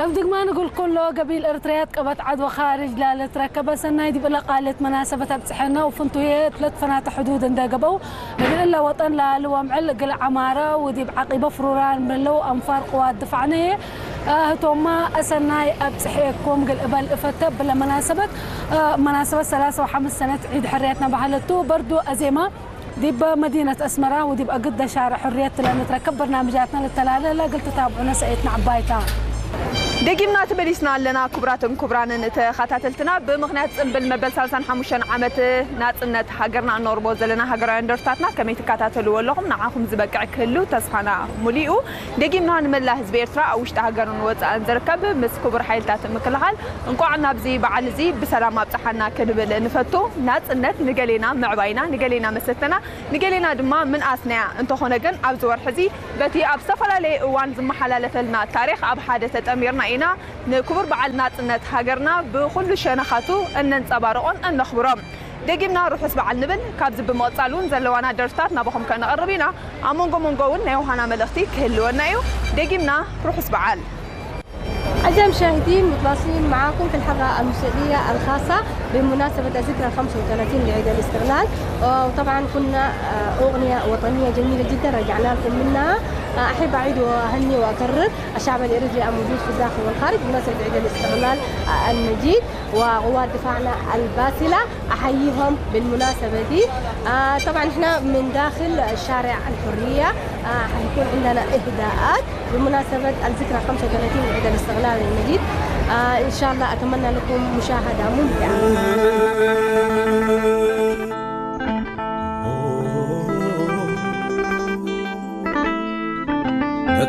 እብ ድግማ ንጉል ኩሎ ገቢል ኤርትርያት ቀበት ዓድወ ኻርጅ ላለ ትረከበ ሰናይ ዲብ እለ ቃልት መናሰበት ኣብጽሐና ወፍንቱየ ትለት ፈናተ ሕዱድ እንደ ገበው እግል እለ ወጠን ላለ ወምዕል እግል ዓማረ ወዲብ ዓቂበ ፍሩራን ምለው ኣንፋር ቅዋት ድፋዕነየ ህቶማ እሰናይ ኣብጽሐኩም ግል እበል እፈተ ብለ መናሰበት መናሰበት ሰላሳ ወሓምስ ሰነት ዒድ ሕርያትና ባህለቱ በርዱ ኣዜማ ዲብ መዲነት ኣስመራ ወዲብ ኣግደ ሻርዕ ሕርየት ለንትረከብ በርናምጃትና ልተላለለ እግል ትታብዑነ ሰእየትና ዕባይታ። ደጊምና ተመሊስና ኣለና። ክቡራትን ክቡራንን ተኸታተልትና፣ ብምኽንያት ጽምብል መበል ሰላሳን ሓሙሽተን ዓመት ናጽነት ሃገርና እነቕርቦ ዘለና ሃገራውያን ደርፍታትና ከመይ ትከታተልዎ ኣለኹም? ንዓኹም ዝበቅዕ ክህሉ ተስፋና ሙሉኡ። ደጊምና ንመላእ ህዝቢ ኤርትራ ኣብ ውሽጢ ሃገርን ወጻእን ዝርከብ ምስ ክቡር ሓይልታት ምክልኻል እንቋዕ ናብዚ በዓል እዚ ብሰላም ኣብጽሓና ክንብል ንፈቱ። ናጽነት ንገሌና ምዕባይና፣ ንገሌና መሰተና፣ ንገሌና ድማ ምንኣስናያ። እንተኾነ ግን ኣብዚ ወርሒ እዚ በቲ ኣብ ዝተፈላለየ እዋን ዝመሓላለፈልና ታሪኽ ኣብ ሓደ ተጠሚርና ኢና ንክቡር በዓል ናጽነት ሃገርና ብኹሉ ሸነኻቱ እነንጸባርቖን እነኽብሮን። ደጊምና ርሑስ በዓል ንብል። ካብዚ ብምቕጻል እውን ዘለዋና ደርፍታት ናባኹም ከነቕርብ ኢና። ኣብ መንጎ መንጎ እውን ናይ ውሃና መልእኽቲ ክህልወና እዩ። ደጊምና ርሑስ በዓል። أعزائي المشاهدين، متواصلين معاكم في الحلقة الموسيقية الخاصة بمناسبة الذكرى خمسة وثلاثين لعيد الاستقلال. وطبعا كنا، آه، أغنية وطنية جميلة جدا رجعنا لكم منها. آه، أحب أعيد وأهني وأكرر الشعب الإريتري الموجود في الداخل والخارج بمناسبة عيد الاستقلال، آه، المجيد، وقوات دفاعنا الباسلة. أحييهم بالمناسبة دي. آه، طبعا احنا من داخل شارع الحرية، آه، حيكون عندنا إهداءات بمناسبة الذكرى خمسة وثلاثين لعيد الاستقلال المجيد. آه، إن شاء الله أتمنى لكم مشاهدة ممتعة.